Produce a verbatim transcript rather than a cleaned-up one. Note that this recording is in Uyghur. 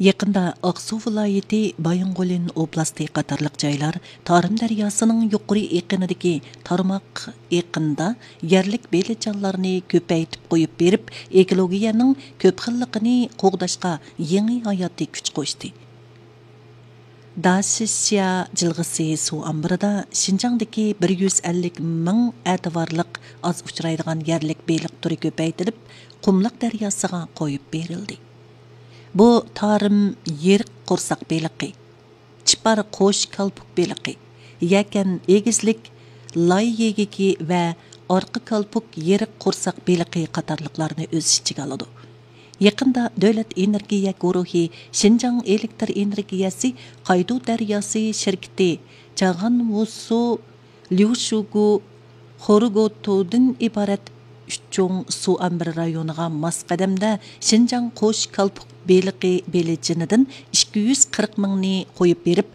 يېقىندا ئاقسۇ ۋىلايىتى بايىنغولىن ئوبلاستى قاتارلىق جايلار تارىم دەرياسىنىڭ يۇقىرى ئېقىنىدىكى تارماق ئېقىندا يەرلىك بېلىقچانلارنى كۆپەيتىپ قويۇپ بېرىپ، ئېكولوگىيەنىڭ كۆپ خىللىقىنى قوغداشقا يېڭى ھاياتىي كۈچ قوشتى. داشىشيا جىلغىسى سۇ ئامبىرىدا شىنجاڭدىكى بىر يۈز ئەللىك مىڭ ئەتىۋارلىق ئاز ئۇچرايدىغان يەرلىك بېلىق تۈرى كۆپەيتىلىپ، قۇملۇق دەرياسىغا قويۇپ بېرىلدى. بۇ تارىم يېرىق قورساق بېلىقى، چىپار قوش كالپۇك بېلىقى، يەكەن ئېگىزلىك لاي يېگىكى ۋە ئارقا كالپۇك يېرىق قورساق بېلىقى قاتارلىقلارنى ئۆز ئىچىگە ئالىدۇ. يېقىندا دۆلەت ئېنېرگىيە گۇرۇھى شىنجاڭ ئېلېكتر ئېنېرگىيەسى قايدۇ دەرياسى شىركىتى چاغانۋۇسۇ، ليۇشۇگۇ، خورۇگوتۇدىن ئىبارەت ئۈچ چوڭ سۇ ئامبىرى رايونىغا ماس قەدەمدە شىنجاڭ قوش كالپۇك بېلىقى بېلىجىنىدىن ئىككى يۈز قىرىق مىڭنى قويۇپ بېرىپ،